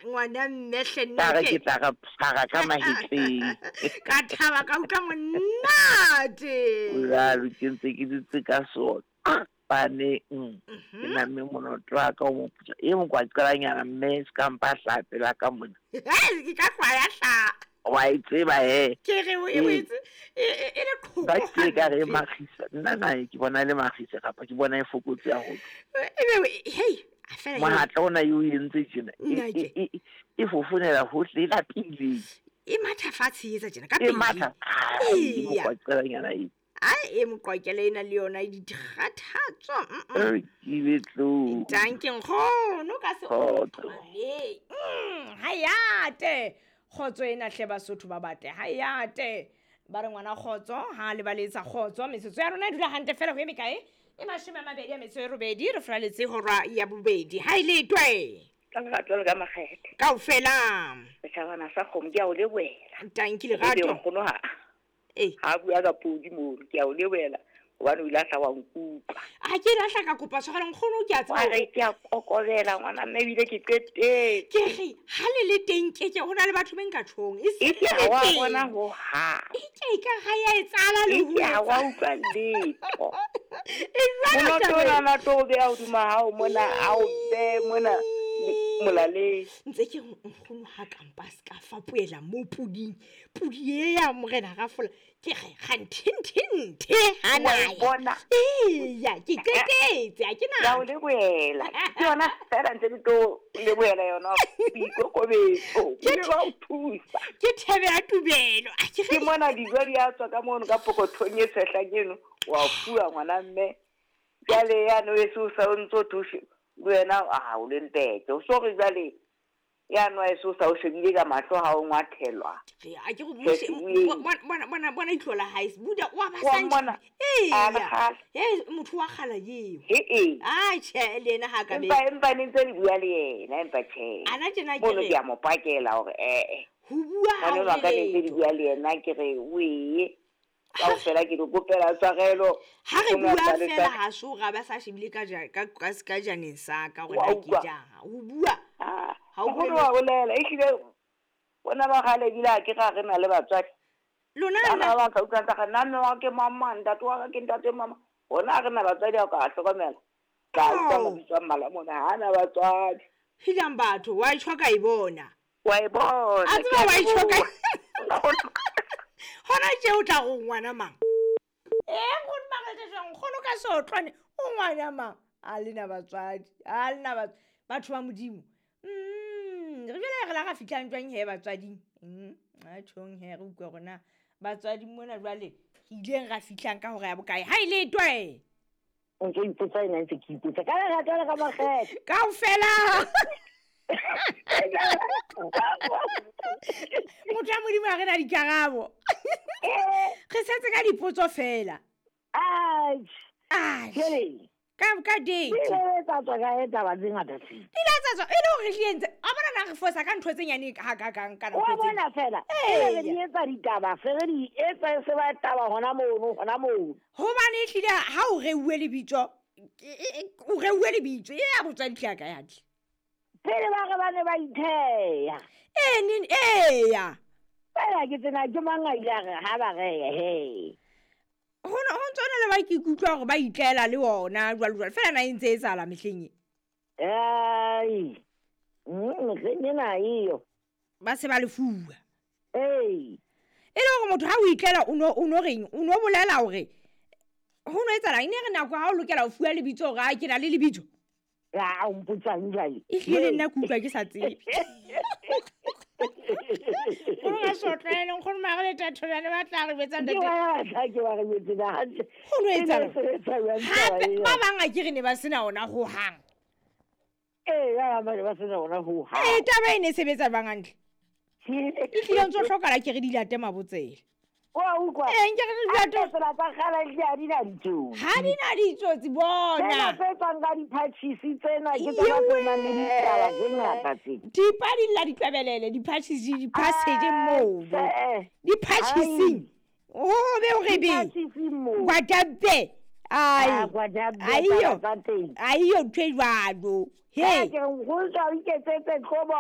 Ngwana mme hle Ka re nna ke tla re phara ka mahetleng. Ka thaba ka utlwa monate. Jalo ke ntse ke dutse ka sona paneng. Ke namme monoto wa ka o moputswa. E mokwaqelanyana mme se ka mpa hlaha pela ka mona. Ke ka hlwaya hla. Wa e tseba he. Ke re o e Ee. wetse e le qhoko. Ba ke ka re e hampe. makgisa. Nna nae ke bona e le makgisa kapa ke bona e fokotse haholo. Ebe hei, a fela eo. Mohatla ona eo e entse tjena. Nna ke. E fofonela hohle e lapile. E matha fatshe e etsa tjena ka E pele. matha. Ai, Eya. mokwaqelanyana e. Ai e moqwakela ena le yona e dikgathatso. E ke be tlo. Danke nkgono ka se Kgotso. Ha yate. Kgotso ena hle Basotho ba batle. Ha yate. Ba re ngwana kgotso ha le baletsa kgotso metsotso ya rona e dula hantle fela ho eme kae? E 28 re fraletse hora ya bobedi. Ha e le twe. Ka lerato le ka makgethe. Kaofela. Setjhabana sa kgomo ke a o lebohela. Tanki Ebe lerato. nkgono ha Eh. ha bua ka podi mono ke a o lebohela hobane o ile a tla wa nkutlwa. A ke lahla ka kopa tshwarelo nkgono ke a Wa tseba. re ke a kokobela ngwana mme ebile ke qetetse. Ke re ha le le teng ke ke hona le batho be nka tjhong. E se Eke le ha wa teng. bona ho hang. E ke ka ha ya etsahala le ho Eke ha wa etsa. utlwa letho. E jwalo Monoto taba ona na tlo o beha hodima hao mona, a o behe mona molaleng. Ntse ke re nkgono ha kampa se ka fapohela mo puding. Pudi e ya morena Rafola. Ke re kganthenthe ha Wa e na. bona? Eya, ke qetetse ha ke Ke a o na. lebohela. Ke yona feela ntse ke tlo lebohela yona boikokobetso. Ebile ba o thusa. Ke thebe ya tubelo. A ke Ke re mona dijo di a tswa ka mono ka pokothong e tshehla eno, wa fuwa ngwana mme. Jwale yane o eso o sa o ntso thushe le wena a o le mpete. O so re jwale yane wa eso o sa o shebile ka mahlo ha o ngwathelwa. re a ke go Ke bueng. bona bona bona ihlo la hae. Buda wa ba Wa sa mmona? A le Eya. kgale. Eh motho wa kgala eo. Ee. Ai tjhe le yena ha ka be. Empa empa ne ntse le bua le yena empa tjhe. Ana tjena ke Mono re ke a mo pakela hore eh. ho bua ha Ngwana o enwa ka ne ntse le letho. bua le yena ke re wee. Kaofela ke le kopela tshwarelo. Ha re Nkgono a bua sa le fela tshware- ha so ra ba sa shebile ka ja ka ka ka janeng sa ka hore Wa na ke utlwa? jang. Ho bua. Ah, Ha o nkgono bue wa bolela ehlile bona ba kgale ebile ha ke ra re na le batswadi. Lona Bana lona ba bang ka utlwa ntse re nna mme wa ke mama, ntate wa ka ke ntate mama. Bona ha re na batswadi ha o ka a hlokomela. Ka utlwa Ao. mabitso a mmalwa mona ha na batswadi. Helang batho wa itjho ka e bona. Wa e bona. A ke tseba a wa itjho ka. leboha. Hona tje o tla go ngwana mang? Eh nkgono Makgethe jwang nkgono ka sotlwane o ngwana mang? A lena batswadi, a lena batswadi batho ba Modimo. Re jwale re la ra fihlang jwang he batswading? A tjhong he re utlwe hore na batswadi mona jwale re ileng ra fihlang ka hora ya bokae? Ha e le twe. O ntso ipotsa ena ntse ke ipotsa. Ka lerato le ka makgethe. Kaofela. Motho wa Modimo ha re na dikarabo. Re setse ka dipotso fela. Ai, Ai. jwale, Ka date. di ile tsa tswa kae taba tse ngata tse? Di ile tsa tswa e le hore re entse. A bona na re fosa ka ntho tse nyane hakakang ka Wa nako tse. bona fela, Eya. e re di etsa ditaba, se re di etsa e se ba taba hona mono, hona mono. Hobane ehlile ha o reuwe lebitso, o reuwe lebitso e ya botswadi hle ya ka ya tle. Pele ba re ba ne ba itheya. Ee neng eya. Fela ke tsena ke mang a ile a re ha ba reye he. Ho no ho ntso le ba ke ikutlwa hore ba itlela le ona jwalo jwalo. Fela na e ntse e etsahala mehleng e. Ai. Mehleng ena eyo. Ba se ba lefuwa. Ee. E le hore motho ha o itlela o no reng, o no bolela hore ho no etsahala eng, e ne re nako ha o lokela ho fuwa lebitso hore a ke na le lebitso. Ya, o mpotsang jwale. Ehlile le nna ke utlwa ke sa tsebe. Nkgono ka sotlwane, nkgono mare le Thathobane ba tla re jwetsa Ke ntate. ba tla ke ba re jwetse na hantle. Ho no E ne etsahala. e sebetsa jwang taba Hape ena? ba bang a ke re ne ba sena ona hohang. Ee, ba bang ba ne ba sena ona hohang. Ee, taba e ne e sebetsa jwang hantle? Ehlile ntso hlokahala ke re di late mabotsela. Wa utlwa? Ee, nke re di late. Hantle tsela tsa kgale di ha di na ditsotsi. Ha di na ditsotsi bona. Tsena tse tswang ka diphatjhisi tsena ke tsona tse nang le ditaba tse ngata tse. Dipa di lla ditlwebelele, diphatjhisi, di-passage moo. Eh, Diphatjhising. Ho be o re be. Diphatjhising moo. Kwatabe. Ai Ah, kwa ja bua aiyo taba tsa teng. Aiyo ntho e jwalo. He He ke re nkgono tla o iketsetse tlobo.